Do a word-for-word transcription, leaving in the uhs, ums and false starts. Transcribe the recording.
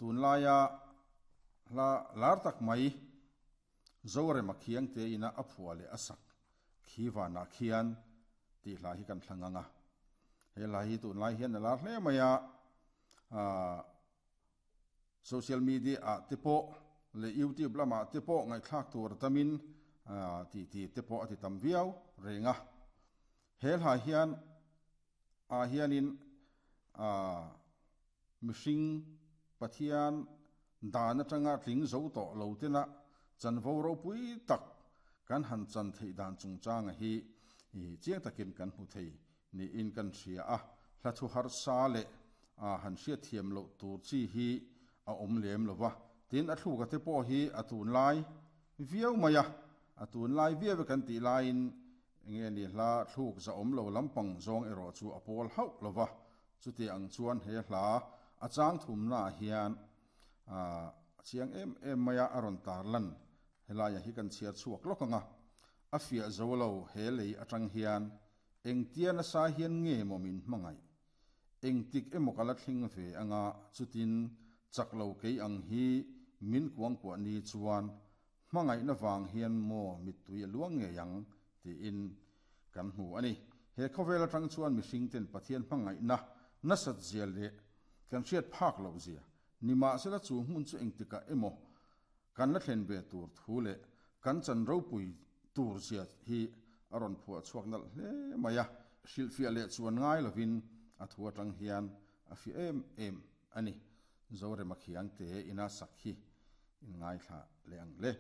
Tunlaia hla lar tak mai Zorema Khiangte ina a phua leh a sak khi vanah khian tih hla hi kan thlang ang a. He hla hi tunlai hian a lar hle mai a, aah social media ah te pawh leh YouTube lamah te pawh ngaihthlak tur a tamin aah tih tih te pawh a ti tam viau reng a. He hla hian ah hianin aah mihring Pathian dan atanga tling zo tawh lo tena chanvo ropui tak kan han chan theih dan chungchanga hi chiang takin kan hmu thei niin kan hria a, hla thu harsa leh han hriatthiam loh tur chi hi a awm lem lo va, tin a thluka te pawh hi a tunlai viau mai a, a tunlai viau e kan tih laiin enge ni hla thluk za awm lo lampang zawng erawh chu a pawl hauh lo va, chuti ang chuan he hla a chang thumnaah hian a chiang em em mai a, a rawn tarlan helaia hi kan chhiar chhuak lawk ang a, a fiah zo lo he lei atang hian engtia nasa hian nge maw min hmangaih? Engtik emaw ka la thleng ve anga chutin chak lo kei ang hi min kuangkuah ni chuan hmangaihna vang hian maw mittui a luang ngei ang tiin kan hmu a ni. He khawvel atang chuan mihring ten Pathian hmangaihna nasat zia leh kan hriat phak loh zia nimahsela chu hmun chu engtikah emaw kan la thlen ve tur thu leh kan chan ropui tur zia hi a rawn phuah chhuak nalh hle mai a, hrilhfiah leh chuan ngai lovin a thu atang hian a fiah em em a ni. Zorema Khiangte ina sak hi in ngaithla leh ang le.